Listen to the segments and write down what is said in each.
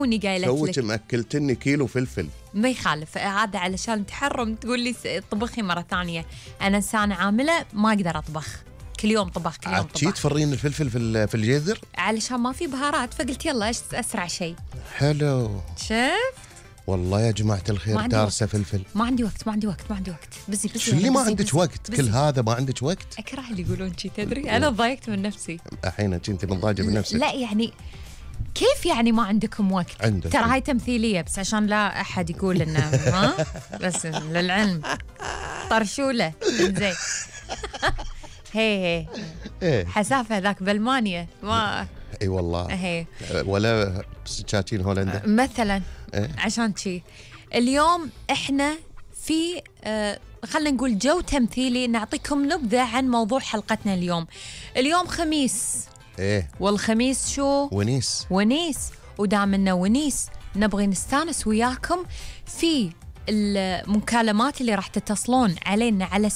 وني قايلت لك توك مأكلتني كيلو فلفل. ما يخالف، هذا علشان تحرم تقول لي طبخي مرة ثانية. أنا إنسانة عاملة ما أقدر أطبخ كل يوم طبخ كل يوم طبخ. تفرين الفلفل في الجذر علشان ما في بهارات، فقلت يلا إيش أسرع شيء. حلو. شفت والله يا جماعة الخير دارسة فلفل. ما عندي وقت بزي شو اللي ما عندك وقت؟ كل هذا ما عندك وقت؟ أكره اللي يقولون شي، تدري أنا ضايقت من نفسي. الحين أنت مضايقة من نفسك. لا يعني كيف يعني ما عندكم وقت؟ عندك. ترى هاي تمثيلية بس عشان لا أحد يقول إنه ها بس للعلم طرشولة زين. هي حسافة ذاك بألمانيا ما اي والله. هي ولا سكاكين هولندا مثلا. عشان شي اليوم احنا في خلينا نقول جو تمثيلي، نعطيكم نبذة عن موضوع حلقتنا اليوم خميس. والخميس شو؟ ونيس ودام إنه ونيس نبغي نستانس وياكم في المكالمات اللي راح تتصلون علينا على 600-55-1212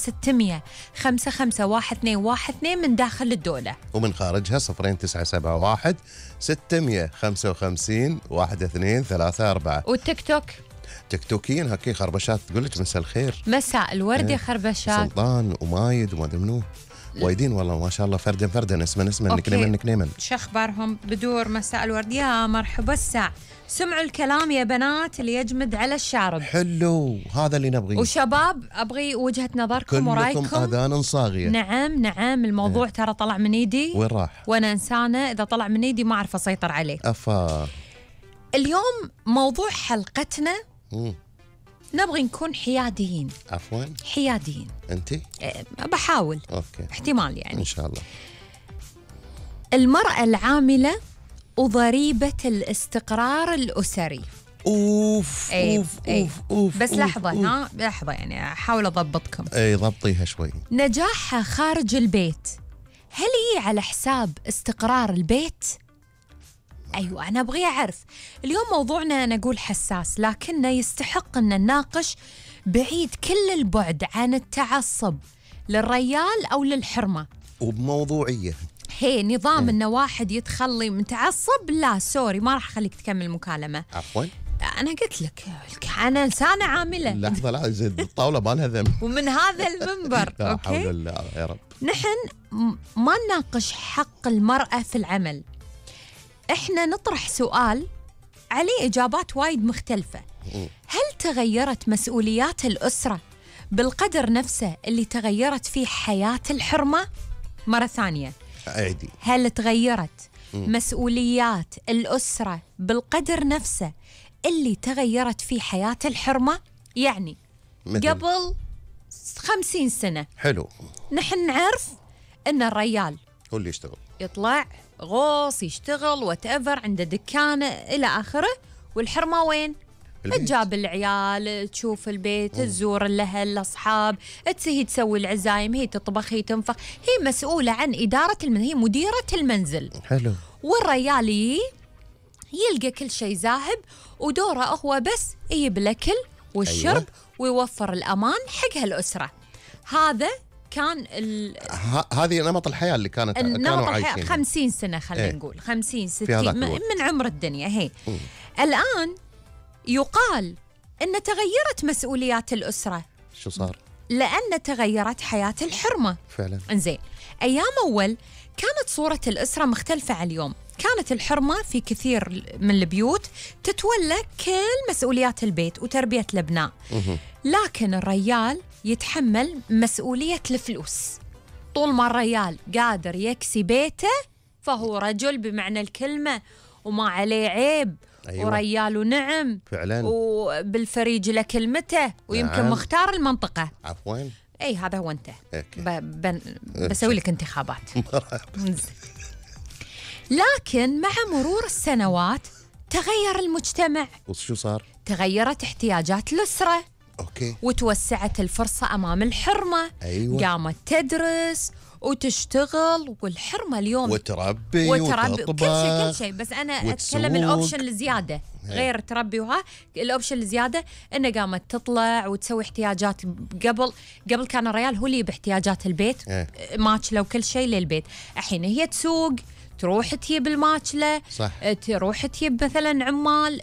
من داخل الدولة ومن خارجها 0971 655-1234. والتيك توك تيكتوكيين هكي خربشات تقول لك مساء الخير، مساء الورد يا خربشات. سلطان ومايد وما ادري منو وايدين والله ما شاء الله، فردا اسما نكنيما. شو اخبارهم؟ بدور مساء الورد يا مرحبا الساعة. سمعوا الكلام يا بنات اللي يجمد على الشارب. حلو، هذا اللي نبغيه. وشباب ابغي وجهة نظركم ورايكم. كلكم اذان صاغية. نعم الموضوع ترى طلع من ايدي. وين راح؟ وانا انسانة اذا طلع من ايدي ما اعرف اسيطر عليه. افا اليوم موضوع حلقتنا نبغي نكون حياديين. عفوا حياديين. انتي؟ بحاول. اوكي. احتمال يعني. ان شاء الله. المرأة العاملة وضريبة الاستقرار الأسري. اوف. بس لحظة لحظة يعني احاول اضبطكم. ضبطيها شوي. نجاحها خارج البيت هل هي على حساب استقرار البيت؟ أيوة أنا أبغي أعرف. اليوم موضوعنا نقول حساس لكنه يستحق أن نناقش بعيد كل البعد عن التعصب للريال أو للحرمة، وبموضوعية. هي نظام أن واحد يتخلي متعصب، لا سوري ما راح أخليك تكمل المكالمة. عفوا أنا قلت لك أنا إنسانة عاملة. لحظة لا زين الطاولة ما لها ذنب. ومن هذا المنبر لا حول الله يا رب. نحن ما نناقش حق المرأة في العمل، إحنا نطرح سؤال عليه إجابات وايد مختلفة. هل تغيرت مسؤوليات الأسرة بالقدر نفسه اللي تغيرت فيه حياة الحرمة؟ مرة ثانية عادي. هل تغيرت مسؤوليات الأسرة بالقدر نفسه اللي تغيرت فيه حياة الحرمة؟ يعني قبل 50 سنة حلو نحن نعرف إن الريال هو اللي يشتغل، يطلع غوص يشتغل whatever عنده دكانة إلى آخره، والحرمة وين؟ تجاب العيال، تشوف البيت، تزور الأهل الأصحاب، هي تسوي العزايم، هي تطبخ، هي تنفخ، هي مسؤولة عن إدارة هي مديرة المنزل. حلو. والريال يلقى كل شيء ذاهب ودوره هو بس يجيب الأكل والشرب. أيوة. ويوفر الأمان حق هالأسرة. هذا كان هذه نمط الحياة اللي كانوا عايشين 50 سنة خلينا نقول 50 60 من عمر الدنيا. هي الآن يقال أن تغيرت مسؤوليات الأسرة. شو صار؟ لأن تغيرت حياة الحرمة فعلا. إنزين أيام أول كانت صورة الأسرة مختلفة عن اليوم. كانت الحرمة في كثير من البيوت تتولى كل مسؤوليات البيت وتربية الأبناء، لكن الريال يتحمل مسؤولية الفلوس. طول ما الريال قادر يكسي بيته فهو رجل بمعنى الكلمة وما عليه عيب. أيوة. وريال ونعم فعلا، وبالفريج لكلمته ويمكن نعم. مختار المنطقة. عفوا أي هذا هو أنت. بسوي لك انتخابات. لكن مع مرور السنوات تغير المجتمع. وشو صار؟ تغيرت احتياجات الأسرة. أوكي. وتوسعت الفرصة أمام الحرمة. أيوة. قامت تدرس وتشتغل، والحرمة اليوم وتربي كل شيء بس أنا أتكلم الأوبشن الزيادة غير تربي الأوبشن الزيادة إنه قامت تطلع وتسوي احتياجات. قبل كان الريال هو اللي باحتياجات البيت ماكلة وكل شيء للبيت. الحين هي تسوق، تروح تجيب الماكلة، صح. تروح تجيب مثلا عمال،